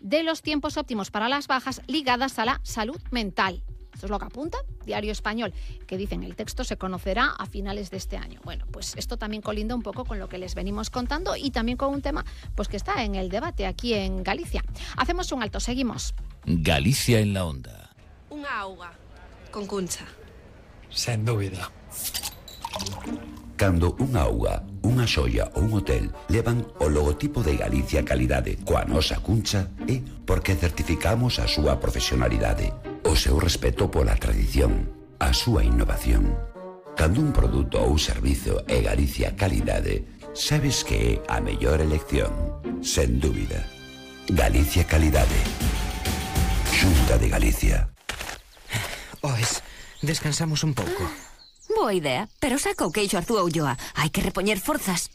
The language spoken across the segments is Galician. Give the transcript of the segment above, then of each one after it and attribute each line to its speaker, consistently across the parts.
Speaker 1: de los tiempos óptimos para las bajas ligadas a la salud mental. Esto es lo que apunta Diario Español, que dicen el texto se conocerá a finales de este año. Bueno, pues esto también colinda un poco con lo que les venimos contando y también con un tema pues que está en el debate aquí en Galicia. Hacemos un alto, seguimos.
Speaker 2: Galicia en la onda.
Speaker 3: Unha auga con cuncha.
Speaker 4: Sen dúbida.
Speaker 5: Cando unha auga, unha xoia ou un hotel levan o logotipo de Galicia Calidade coa nosa cuncha é porque certificamos a súa profesionalidade, o seu respeto pola tradición, a súa innovación. Cando un produto ou servizo é Galicia Calidade, sabes que é a mellor elección, sen dúbida. Galicia Calidade. Xunta de Galicia.
Speaker 6: Oes, descansamos un pouco.
Speaker 7: Boa idea, pero saca o queixo Arzúa Ulloa. Hai que repoñer forzas.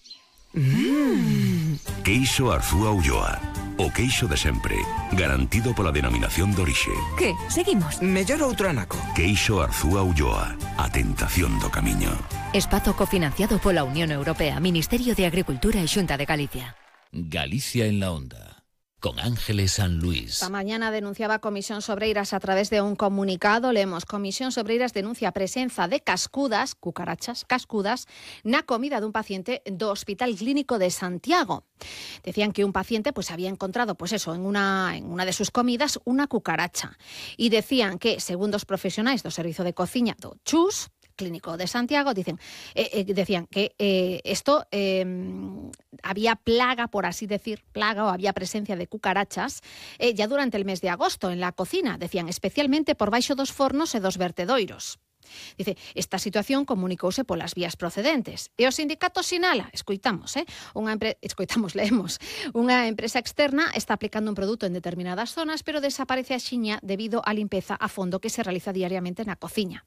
Speaker 8: Queixo Arzúa Ulloa. O queixo de sempre, garantido pola denominación de orixe.
Speaker 7: Que? Seguimos?
Speaker 6: Mellor outro anaco.
Speaker 8: Queixo Arzúa Ulloa. A tentación do camiño.
Speaker 7: Espazo cofinanciado pola Unión Europea, Ministerio de Agricultura e Xunta de Galicia.
Speaker 2: Galicia en la onda. Con Ángeles San Luis.
Speaker 1: Esta mañana denunciaba Comisión Sobreiras a través de un comunicado. Leemos: Comisión Sobreiras denuncia a presenza de cascudas, cucarachas, cascudas, na comida dun paciente do Hospital Clínico de Santiago. Decían que un paciente pues había encontrado pues eso, en una de sus comidas una cucaracha. Y decían que, segundo os profesionais do Servizo de Cociña do CHUS, Clínico de Santiago, decían que esto había plaga, por así decir, plaga o había presencia de cucarachas ya durante el mes de agosto en la cocina, decían, especialmente por baixo dos fornos e dos vertedoiros. Dice, esta situación comunicouse polas vías procedentes. E o sindicato sinala, leemos, unha empresa externa está aplicando un produto en determinadas zonas, pero desaparece axiña debido á limpeza a fondo que se realiza diariamente na cociña.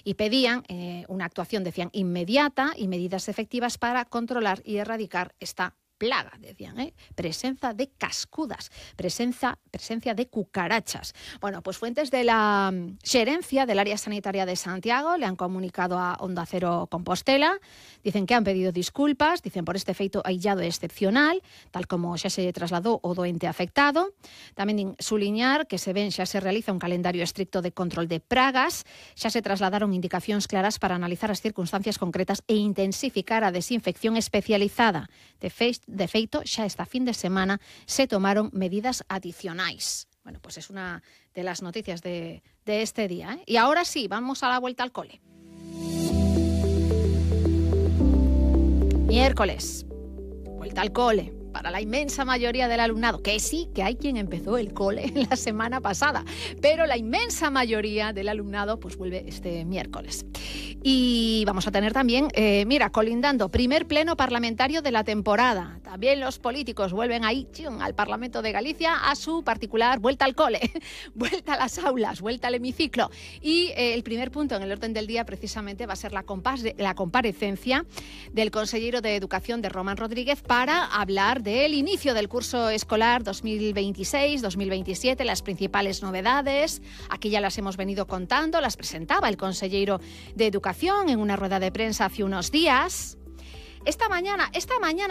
Speaker 1: Y pedían una actuación, decían, inmediata y medidas efectivas para controlar y erradicar esta plaga, decían, presencia de cascudas, presencia de cucarachas. Bueno, pues fuentes de la xerencia del área sanitaria de Santiago le han comunicado a Onda Cero Compostela, dicen que han pedido disculpas, dicen por este feito aillado e excepcional, tal como xa se trasladou o doente afectado. Tamén suliñar que xa se realiza un calendario estricto de control de pragas, xa se trasladaron indicacións claras para analizar as circunstancias concretas e intensificar a desinfección especializada. De feito, xa esta fin de semana se tomaron medidas adicionais. Bueno, pues es una de las noticias de este día, Y ahora sí, vamos a la vuelta al cole. Miércoles, vuelta al cole para la inmensa mayoría del alumnado, que sí, que hay quien empezó el cole la semana pasada, pero la inmensa mayoría del alumnado pues vuelve este miércoles. Y vamos a tener también, colindando, primer pleno parlamentario de la temporada. También los políticos vuelven ahí al Parlamento de Galicia a su particular vuelta al cole, vuelta a las aulas, vuelta al hemiciclo. Y el primer punto en el orden del día precisamente va a ser la comparecencia del consejero de Educación de Román Rodríguez para hablar del inicio del curso escolar 2026-2027, las principales novedades. Aquí ya las hemos venido contando, las presentaba el consejero de Educación en una rueda de prensa hace unos días. Esta mañana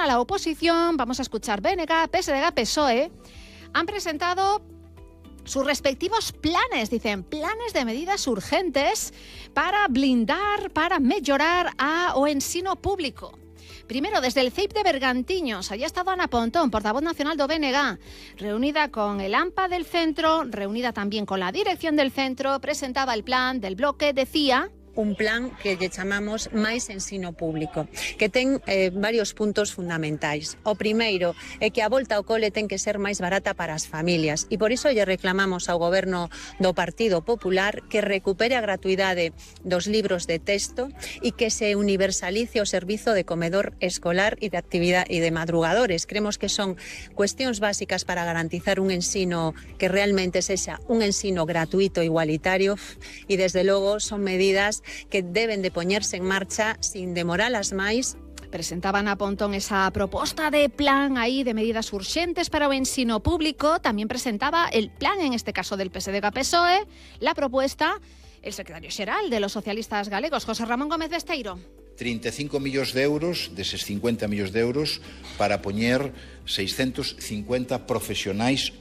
Speaker 1: la oposición, vamos a escuchar BNG, PSDG, PSOE, han presentado sus respectivos planes, dicen, planes de medidas urgentes para blindar, para mellorar o ensino público. Primero, desde el CEIP de Bergantiños, allí ha estado Ana Pontón, portavoz nacional do BNG, reunida con el AMPA del centro, reunida también con la dirección del centro, presentaba el plan del bloque, decía...
Speaker 9: Un plan que lle chamamos Máis Ensino Público, que ten varios puntos fundamentais. O primeiro é que a volta ao cole ten que ser máis barata para as familias e por iso lle reclamamos ao goberno do Partido Popular que recupere a gratuidade dos libros de texto e que se universalice o servizo de comedor escolar e de actividade e de madrugadores. Creemos que son cuestións básicas para garantizar un ensino que realmente sexa un ensino gratuito e igualitario e desde logo son medidas que deben de poñerse en marcha sin demoralas máis.
Speaker 1: Presentaban a Pontón esa proposta de plan aí de medidas urxentes para o ensino público. También presentaba el plan, en este caso del PSDG-PSOE, la propuesta el secretario xeral de los socialistas galegos, José Ramón Gómez Besteiro.
Speaker 10: 35 millóns de euros, deses 50 millóns de euros, para poñer 650 profesionais